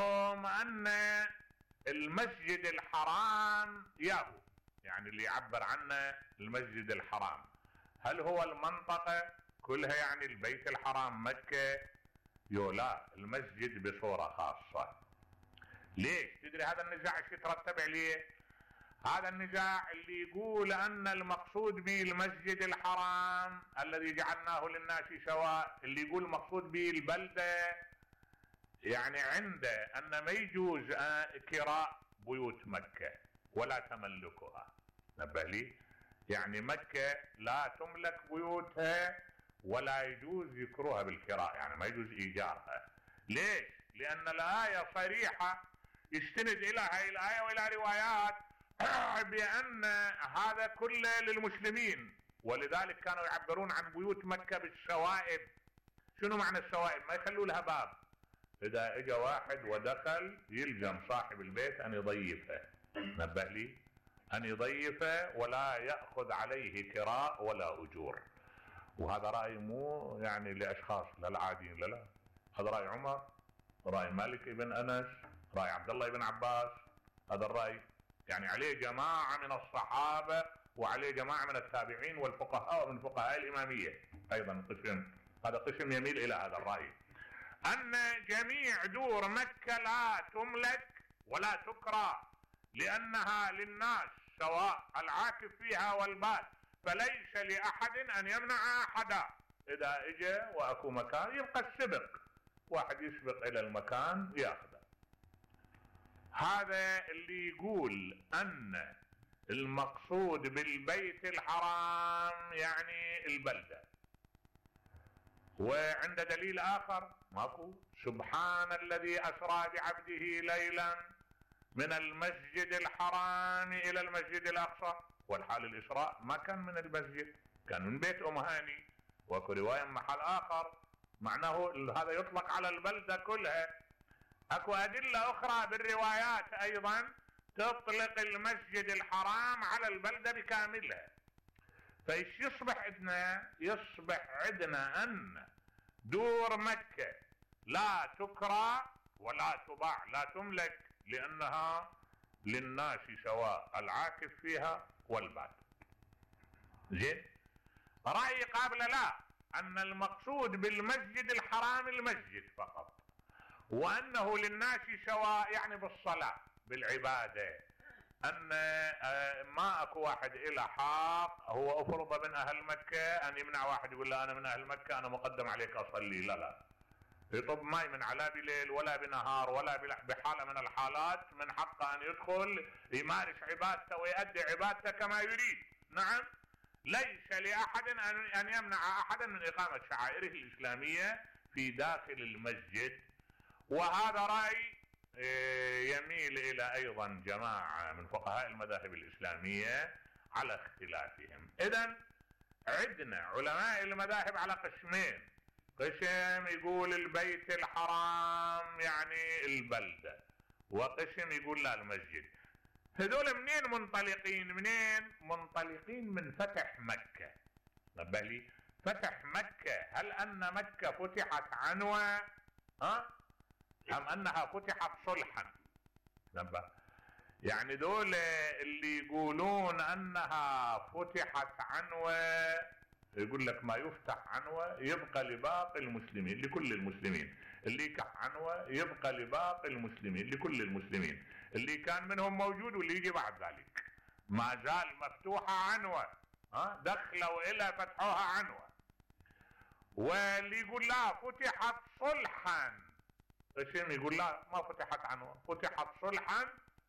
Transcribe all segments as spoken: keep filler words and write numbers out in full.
عندهم ان المسجد الحرام ياهو، يعني اللي يعبر عنه المسجد الحرام هل هو المنطقة كلها، يعني البيت الحرام مكة؟ يو لا، المسجد بصورة خاصة. ليش؟ تدري هذا النزاع ايش يترتب عليه؟ هذا النزاع اللي يقول ان المقصود به المسجد الحرام الذي جعلناه للناس سواء، اللي يقول المقصود به البلدة، يعني عنده ان ما يجوز كراء بيوت مكة ولا تملكها. نبه لي، يعني مكة لا تملك بيوتها ولا يجوز ذكرها بالكراء، يعني ما يجوز ايجارها. ليش؟ لان الآية صريحة يستند الى هاي الآية والى روايات بان هذا كله للمسلمين، ولذلك كانوا يعبرون عن بيوت مكة بالسوائب. شنو معنى السوائب؟ ما يخلوا لها باب، اذا اجى واحد ودخل يلزم صاحب البيت ان يضيفه. نبه لي، ان يضيفه ولا يأخذ عليه كراء ولا اجور. وهذا رأي مو يعني لاشخاص للعاديين، لا لا، هذا رأي عمر، رأي مالك ابن انس، رأي عبد الله بن عباس، هذا الرأي يعني عليه جماعة من الصحابة وعليه جماعة من التابعين والفقهاء ومن فقهاء الامامية ايضا قسم، هذا قسم يميل الى هذا الرأي، ان جميع دور مكة لا تملك ولا تكرى لانها للناس سواء العاكف فيها والباد، فليس لاحد ان يمنع احدا. اذا اجى واكو مكان يبقى السبق، واحد يسبق الى المكان ياخذه. هذا اللي يقول ان المقصود بالبيت الحرام يعني البلدة. وعند دليل اخر ماكو، سبحان الذي اسرى بعبده ليلا من المسجد الحرام الى المسجد الاقصى، والحال الاسراء ما كان من المسجد، كان من بيت ام هاني. واكو رواية محل اخر معناه هذا يطلق على البلدة كلها. اكو ادلة اخرى بالروايات ايضا تطلق المسجد الحرام على البلدة بكاملها. فايش يصبح عندنا؟ يصبح عندنا ان دور مكة لا تكرى ولا تباع، لا تملك، لانها للناس سواء العاكف فيها والباد. زين، رأي قابل لا، ان المقصود بالمسجد الحرام المسجد فقط، وانه للناس سواء يعني بالصلاة بالعبادة، ان ما اكو واحد الى حق هو افرض من اهل مكة ان يمنع واحد يقول له انا من اهل مكة انا مقدم عليك اصلي. لا لا، يطب ماي من لا بليل ولا بنهار ولا بحالة من الحالات من حقه ان يدخل يمارس عبادته ويؤدي عبادته كما يريد. نعم، ليس لاحد ان يمنع احدا من اقامة شعائره الاسلامية في داخل المسجد. وهذا رأي يميل الى ايضا جماعة من فقهاء المذاهب الاسلامية على اختلافهم. اذن عندنا علماء المذاهب على قسمين، قسم يقول البيت الحرام يعني البلدة، وقسم يقول لا المسجد. هذول منين منطلقين؟ منين منطلقين؟ من فتح مكة. نبه لي، فتح مكة، هل ان مكة فتحت عنوة ها ام انها فتحت صلحا؟ نبه، يعني دول اللي يقولون انها فتحت عنوة يقول لك ما يفتح عنوة يبقى لباقي المسلمين لكل المسلمين، اللي يكح عنوة يبقى لباقي المسلمين لكل المسلمين، اللي كان منهم موجود واللي يجي بعد ذلك ما زال مفتوحة عنوة، ها دخلوا الى فتحوها عنوة. واللي يقول لا فتحت صلحا، قسم يقول لا ما فتحت عنوة فتحت صلحا،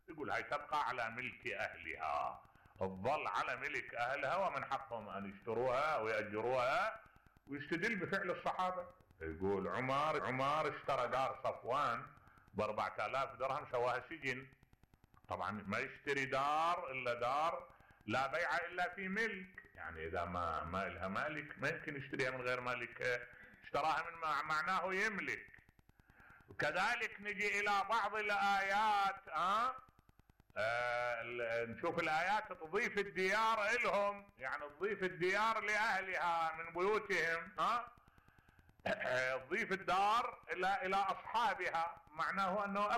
يقول هاي تبقى على ملك اهلها، تظل على ملك اهلها ومن حقهم ان يشتروها ويأجروها. ويستدل بفعل الصحابة، يقول عمر عمر اشترى دار صفوان باربعة الاف درهم سواها سجن. طبعا ما يشتري دار الا دار لا بيع الا في ملك، يعني اذا ما ما لها مالك ما يمكن يشتريها من غير مالك، اشتراها من معناه يملك. وكذلك نجي الى بعض الايات اه, آه نشوف الايات تضيف الديار الهم، يعني تضيف الديار لاهلها من بيوتهم، اه تضيف الدار الى الى اصحابها، معناه انه